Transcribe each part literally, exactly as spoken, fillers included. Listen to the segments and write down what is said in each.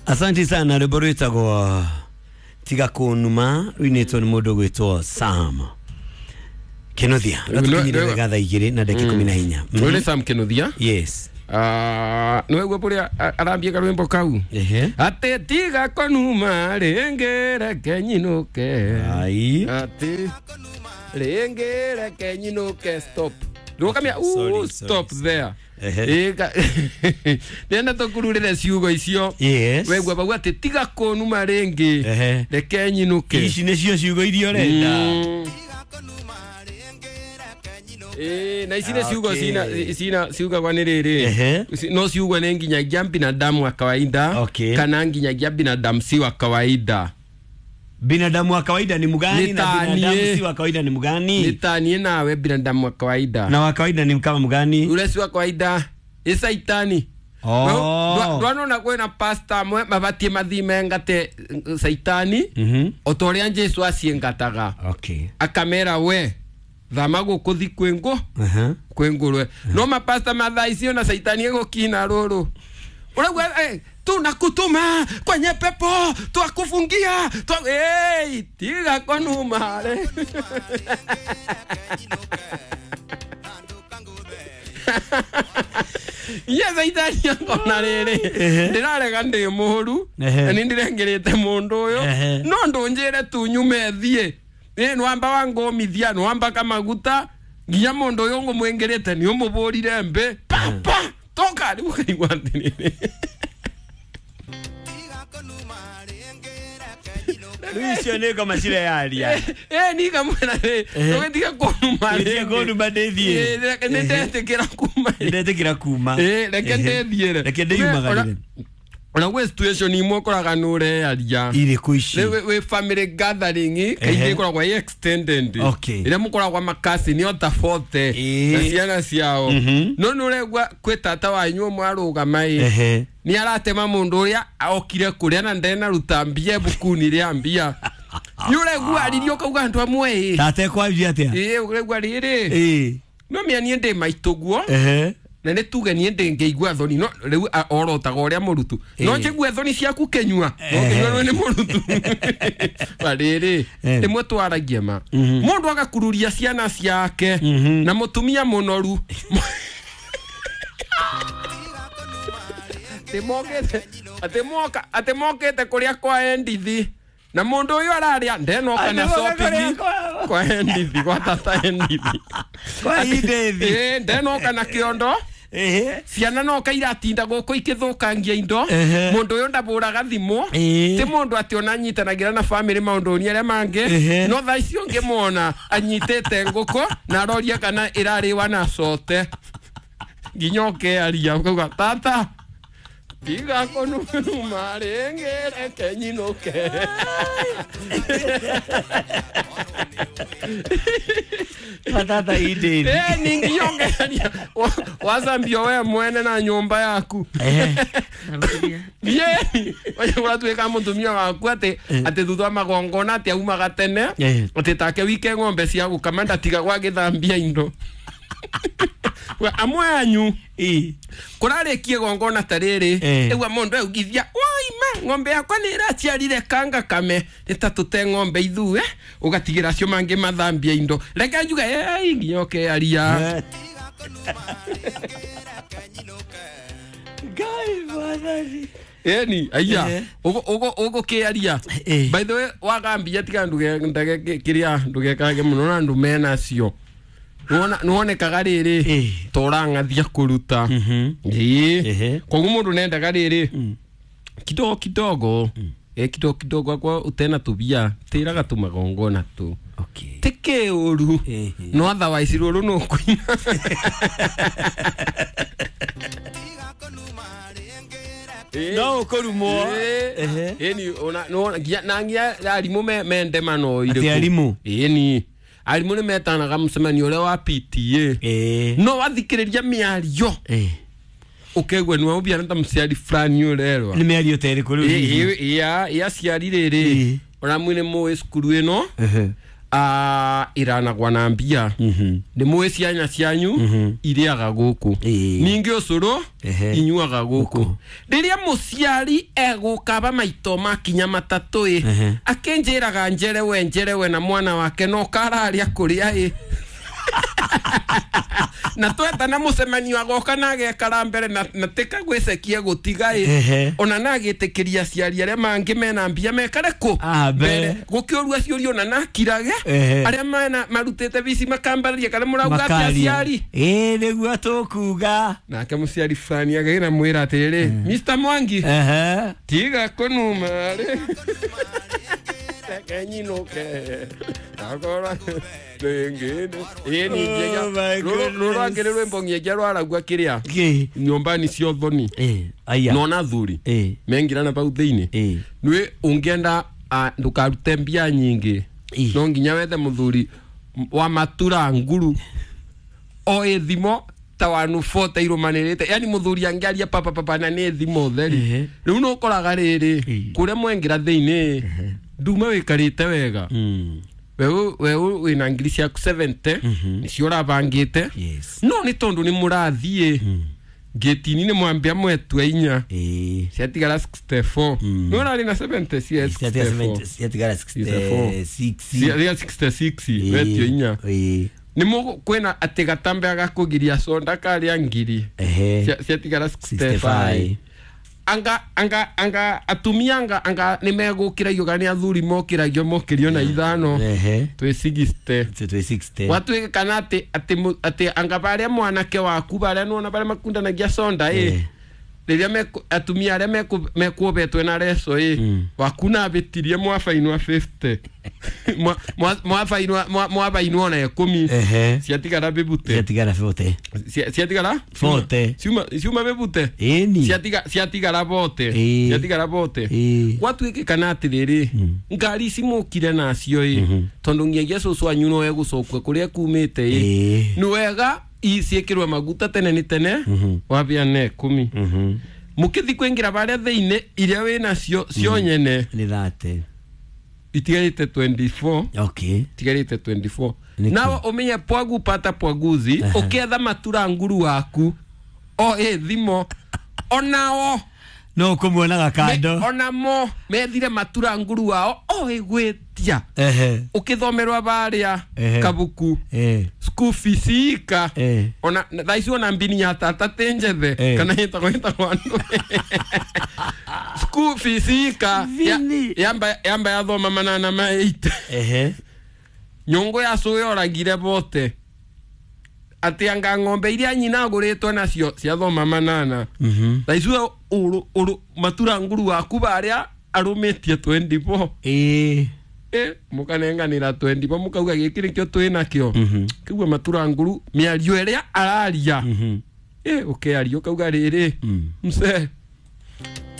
Asante sana. Rwimbo rwitagwo Tiga Kunuma rwinitwo ni mundu gwitwo Sam Kinuthia. Rwatukinyire wega thaa igiri na ndagika ikumi na inya. Uyu ni Sam Kinuthia. Yes. Ah, niwe buria arambie karwimbo kau. Ehe. Ate tiga kunuma ringi reke nyinuke. Ai. Ati ringi reke nyinuke stop. Ndukamia Sorry, stop sorry. there. Ehe. Ika ndenda tukururire ciugo icio. Yes. Wegwa bau ati tiga kunuma ringi Ehe. reke nyinuke. Ici nicio ciugo iria urenda. Mm. Eh, na ici nĩ ciugo Okay. cina cina ciugagwa nĩ rĩrĩ. Ehe. No ciugwo nĩ nginyagia binadamu wa kawaida Okay. kana nginyagia binadamu si wa kawaida. Binadamu wa kawaida ni mgani Ni na tanie. binadamu si wa kawaida ni mgani? Nĩ ta niĩ nawe binadamu wa kawaida. Na wa kawaida ni kama mgani? Ule si wa kawaida ĩ saitani. Oh. Ndwanona kwĩna pastor amwe mabatiĩ mathiĩ mengate saitani Mhm. o ta ũrĩa Jesu aciengataga. Okay. Akamera we thama gũkũ thi kwĩ ngũ Aha. kwĩ ngũrwe no mapasta mathaa icio na saitani egũkina rũrũ ũraigua eh, tunakutuma kwenye pepo twakufungia twa hey, tiga konuma re inya saitani akona rĩrĩ Ehe. ndĩrarega ndĩ mũru Ehe. na nĩ ndĩrengerete mũndũ ũyũ Ehe. no ndũnjĩre tu nyume thiĩ ĩ nwamba wangũmithia nwamba kamaguta nginya mũndũ ũyũ ngũmwĩngĩrĩte nĩ ũmũbũrire mbĩ papa toka rĩu ũkaigua atĩrĩrĩ Rĩu icio nĩ ngoma cireyaria. ĩ nikamwĩra rĩ Ehe. ndũgĩtige kũnuma Ndũgĩtige rĩngĩ. kũnuma ndĩthiĩ. Ĩ, reke nĩ ndetĩkĩra kuma Nĩ ndetĩkĩra kuma. Ĩ, reke Ehe. ndĩthiĩre Reke ndĩyumagarĩre. Ona gwĩ situation imwe ũkoraga nĩ ũreyaria Irĩkũ ici? Rĩu wĩ family gathering kaingĩ Ehe. ĩkoragwo ĩ extended Okay. ĩrĩa mũkoragwo makasini ota forty Ĩ. na ciana ciao Mhm. no nĩ ũraigua kwĩ tata wanyu ũmwe arũgama ĩ Ehe. nĩ aratema mũndũ ũrĩa okire kũrĩa na ndenaruta mbia ibukuni rĩa mbia nĩ ũraigua aririe ũkauga andũ amwe ĩ Tata ekwambia atĩa? ĩ ũraigua rĩrĩ Ĩ. no mĩa niĩ ndĩ maitũ guo Ehe. na nĩ tuge niĩ ndĩngĩigua thoni no rĩu a- orotaga ũrĩa mũrutu no Ĩ. njĩgue thoni ciaku kĩnyua no Ehe. kĩnyua nĩ mũrutu rĩrĩ Eh. rĩmwe twaragie ma Mhm. mũndũ agakururia ciana ciake Mhm. na mũtumia mũnoru atĩ mokĩte atĩ moka atĩ mokĩte kũrĩa kwa Endithi na mũndũ ũyũ ararĩa ndenoka na Atĩ moka shopping kũrĩa kwa- kwa Endithi gwa tata Endithi Kwa Endithi. Ĩ, ndenoka na kĩondo Ehe. ciana noka iratinda gũkũ ikĩthũkangia indo Ehe. mũndũ ũyũ ndabũraga thimũ Ĩ. ti mũndũ atĩ ona anyitanagĩra na bamĩrĩ maũndũ-inĩ arĩa mangĩ Ehe. no thaa icio ngĩmuona anyitĩte ngũkũ na aroria kana ĩrarĩwa na cote nginya ũkearia ũkauga tata tiga kũnuma rĩngĩ reke nyinũke Tata Endithi. Ĩ, ninginya ũkearia wacambio we mwene na nyũmba yaku. Ehe. Yeni ũratuĩka mũtumia waku atĩ atĩ thutha wa magongona atĩ aumaga tene Eh. atĩ take wike ng'ombe cia gũkama ndatigagwo agĩthambia indo. We, amwe anyu Ĩ. kũrarĩkia igongona ta rĩrĩ Eh. ĩgua mũndũ augithia woima ng'ombe yakwa nĩ ĩraciarire kanga kame nĩ ta tũte ng'ombe ithue ũgatigĩra acio mangĩ mathambia indo reke njuge "Ei, nginya ũkearia." Eh. Ngai mwathani. Eni aya Eh. ugo ugo ugo kiaria. Eh. By the way wagambia tiga nduge ndage kiria ndugekage muno na andu mena cio nuona nuonekaga riri Eh. torangathia kuruta. Mhm. Ii Ehe. koguo mundu nendaga riri kidogo kidogo eh kidogo kidogo akwa utena tubia tiraga tumagongona tu Okay. tike uru Ehe. no otherwise ruru no kuina. No ũkũrumwo. Ehe. Ĩni ona no nginya na nginya arimũ me mende mano Atĩ arimũ? Ĩni arimũ nĩ metanaga mũcemanio ũrĩa wa P T A. Ĩ. No wathikĩrĩria mĩario Ĩ. ũkegua nĩ waũbiana ta mũciari fulani ũrerwa. Nĩ mĩario ta ĩrĩkũ rĩu hihi? Ĩ aciari rĩrĩ Ĩ. ona mwĩ nĩ mũĩ cukuru ĩno Ehe. ah iranagwa na mbia nĩ mũĩ cianya cianyu irĩaga gũkũ Ĩĩ. ningĩ ũcũrũ Ehe. inyuaga gũkũ rĩrĩa mũciari egũkaba maito makinya matatũ ĩ Ehe. akĩnjĩraga njerewe njerewe na mwana wake no kararĩa kũrĩa ĩ na twetana mũcemanio agoka na agekara mbere na, na tika gwĩcekia gũtiga ĩ Ehe. ona na agĩtĩkĩria aciari arĩa mangĩ mena mbia mekare kũ Ah, mbere. gũkĩũrua ciũria ona nakirage Ehe. arĩa mena marutĩte bici makambararia kana mũrauga atĩa Makaria. aciari Ĩĩ nĩguo tũkuga. nake mũciari fulani agĩra mwĩra atĩrĩrĩ Mr Mwangi Ehe. tiga kũnuma rĩ reke nyinũke akora rĩngĩ ĩĩ ningĩ Oh my rũrũ rwangĩ rwĩmbo ng'ĩngĩa rwaragua kĩrĩa Kĩ? nyũmba-inĩ cia ũthoni Ĩĩ. Aya. nona athuri Ĩĩ. mengirana bau thĩinĩ Ĩĩ. nĩ ũngĩenda ah, ndũkarute mbia nyingĩ Ĩĩ. no nginya wethe mũthuri wa matura nguru o ĩ thimo ta wanu bote irũmanĩrĩte yani mũthuri angĩaria papa papa na nĩ thimo theri Ehe. rĩu nĩ ũkoraga rĩrĩ Ĩĩ. kũrĩa mwengĩra thĩinĩ nduma wĩkarĩte wega Mm. weũ weũ wĩna ngiri ciaku seventy nĩcio ũrabangĩte Yes. no nĩ tondũ nĩ mũrathiĩ ngĩtini nĩ mwambia mwetue inya Ĩĩ. ciatigara sixty four Mm. nĩ ũrarĩ na seventy cia Ciatigara sixty four seventy- ciatigara Sixty-four. sixty-six. ciatigara sixty six Ĩĩ. wetio inya Ĩĩ. nĩ mũgũ kwĩna atĩ gatambe agakũgiria conda karĩa ngiri Ehe. Cia- ciatigara sixty sixty-five. five anga anga anga atumia anga anga nĩ megũkĩragio kana nĩ athuri mokĩragio mokĩrio na ithano Ehe. twĩ sixty Twĩ sixty. gwatuĩka kana atĩ atĩ mũ- atĩ anga barĩa mwanake waku barĩa nona barĩa makundanagia conda ĩ Eh. rĩrĩa meku- atumia arĩa meku- mekuobetwe na reco ĩ Mm. waku nabĩtirie mwabainwa fifty Mwa- mwa- mwabainwa mwa- mwabainwa ona ikũmi Ehe. ciatigara bĩbute Ciatigara forty. Cia- ciatigara Forty. ciuma ciuma bĩbute Ĩni. Ciatiga- ciatigara bote Ĩĩ. ciatigara bote Ĩĩ. gwatuĩke kana atĩrĩrĩ ngari ici mũkire nacio ĩ tondũ ngiagia cũcũ anyu no egũcokua kũrĩa kumĩte ĩ Ĩĩ. nĩ wega iciĩkĩrwo maguta tene nĩ tene wabĩa na ikũmi Mhm. mũkĩthi kũingĩra barĩa thĩinĩ iria wĩ nacio cio nyene Nĩ thate. itigarĩte twenty four Okay. itigarĩte twenty four Nĩkĩ? nawe ũmenye pwagu pata pwaguzi ũkĩetha matura nguru waku o ĩ thimo onao No ũkũmuonaga kando. Me- onamo methire matura nguru wao o ĩgwĩtia Ehe. ũkĩthomerwa barĩa Ehe. kabuku Eh. school fees ika Eh. ona thaa ici ona mbini ya tata ti njethe Eh. kana ĩtagwo ĩtagwo andũ school fees ika ya- Vini. yamba yamba yathoma manana ma eight Ehe. nyũngũ ya cũĩ oragire bote atĩ anga ng'ombe iria nyina agũrĩtwo nacio ciathoma manana Mhm. thaa ici ũrũ ũrũ matura nguru waku barĩa arũmĩtie twenty four Ĩĩ. ĩ mũkanenganĩra twenty four mũkauga gĩkĩ nĩkĩo twĩ nakĩo Mhm. kĩgua matura nguru mĩario ĩrĩa araria Mhm. ĩ ũkĩaria ũkauga rĩrĩ Mm. mse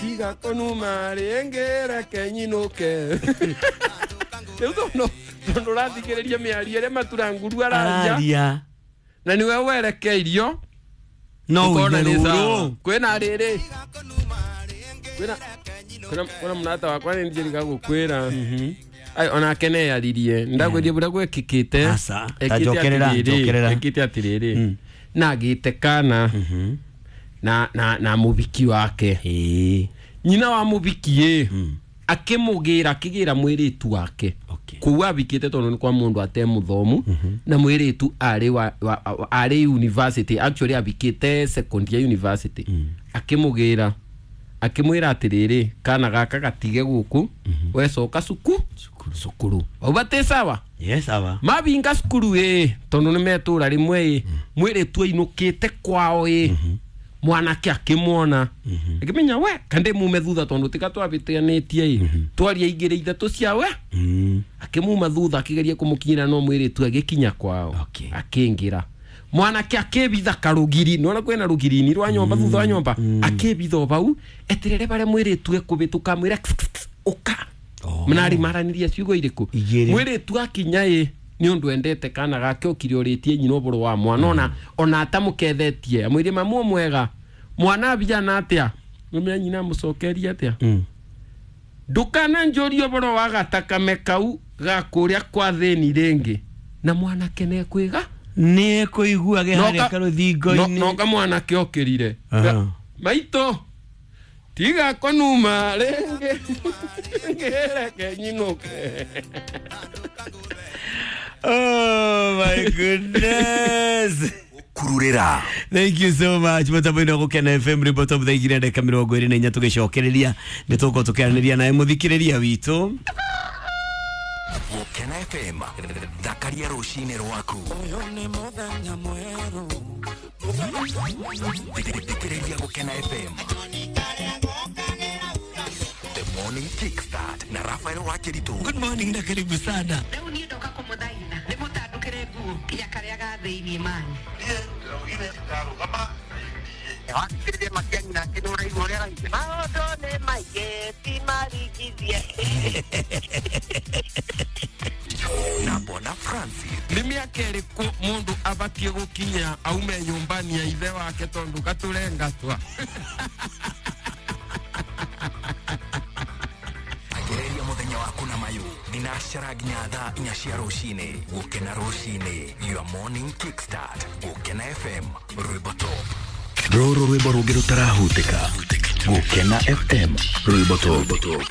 tiga kũnuma rĩngĩ reke nyinũke rĩu tondũ tondũ ũrathikĩrĩria mĩario ĩrĩa matura nguru araria Araria. na nĩwe werekeirio No ũkona ũine nĩ sawa. rũrũ. Kwĩna rĩrĩ kwĩna kwĩna kwĩna mũrata wakwa nĩ njĩrĩga gũkwĩra Ai, onake neyaririe ndagwĩrie bũrĩa gwekĩkĩte Aca, ta Ekĩte njokerera, atĩrĩrĩ, njokerera. ekĩte atĩrĩrĩ Mm. nagĩte kana Mhm. na na na mũbiki wake Ĩĩ. nyina wa mũbiki ĩ Mm. akĩmũgĩra akĩgĩra mwĩrĩtu wake Okay. kũu abikĩte tondũ nĩ kwa mũndũ ate mũthomu na mwĩrĩtu arĩ wa, wa, wa, arĩ university actually abikĩte second year university akĩmũgĩra akĩmwĩra atĩrĩrĩ kana gaka gatige gũkũ wecoka cuku cukuru wauga tĩ sawa Yes, sawa. mabinga cukuru ĩ tondũ nĩ metũra rĩmwe ĩ mwĩrĩtu ainũkĩte kwao ĩ mwanake akĩmuona akĩmenya we kandĩ mume thutha tondũ tika twabĩtanĩtie ĩ twaria igĩrĩ ithatũ cia we Mm. akĩmuma thutha akĩgeria kũmũkinyĩra no mwĩrĩtu agĩkinya kwao Okay. akĩingĩra mwanake akĩbitha karũgiri nĩwona kwĩna rũgirini rwa nyũmba thutha wa nyũmba akĩbitha o bau eterere barĩa mwĩrĩtu ekũbĩtũka amwĩra "Kss, kss, kss, ũka Oh. mnarĩ maranĩria ciugo irĩkũ Igĩrĩ. mwĩrĩtu akinya ĩ nĩ ũndũ endete kana gake okire ũrĩtie nyina ũboro wa mwana ona ona atamũkethetie amwĩrie mamu mwega mwana abijana atĩa nĩmenya nyina amũcokeria atĩa Mm. Ndukana njũrie ũhoro wa gatakame kau ga kũrĩa kwa thĩni rĩngĩ. Na mwanake nĩekwĩga nĩ ekũiguage harĩa karũthingo-inĩ. No kamwanake okĩrire. Aha. Maitũ tiga kũnuma rĩngĩ ngĩreke nyinũke. Oh my goodness. Kururira. Thank you so much. Mutambo-inĩ wa Gũkena F M rwĩmbo top thaa igĩrĩ na ndagĩka mĩrongo ĩrĩ na inya tũgĩcokereria nĩ tũgũkorwo tũkĩaranĩria nawe mũthikĩrĩria witũ. Gũkena F M thakaria rũcinĩ rwaku. Thikĩrĩria Gũkena F M. The Morning Kickstart na Rafael Wakiritu. Good morning na karibu sana. Rĩu niĩ ndoka kũmũthaitha ndĩmũtandũkĩre nguo ya karĩa ga thĩiniĩ manyu. Maũndũ nĩ maingĩ ti maringithie. Na Bona Francis. Nĩ mĩaka ĩrĩkũ mũndũ abatiĩ gũkinya aume nyũmba-inĩ ya ithe wake tondũ gatũrengatwa? Agereria mũthenya waku na mayũ thinacara nginya thaa inya cia rũcinĩ. Gũkena rũcinĩ, your morning kickstart. Gũkena F M rwĩmbo top. Rũrũ rwĩmbo rũngĩ rũtarahutĩka. Gũkena F M rwĩmbo top.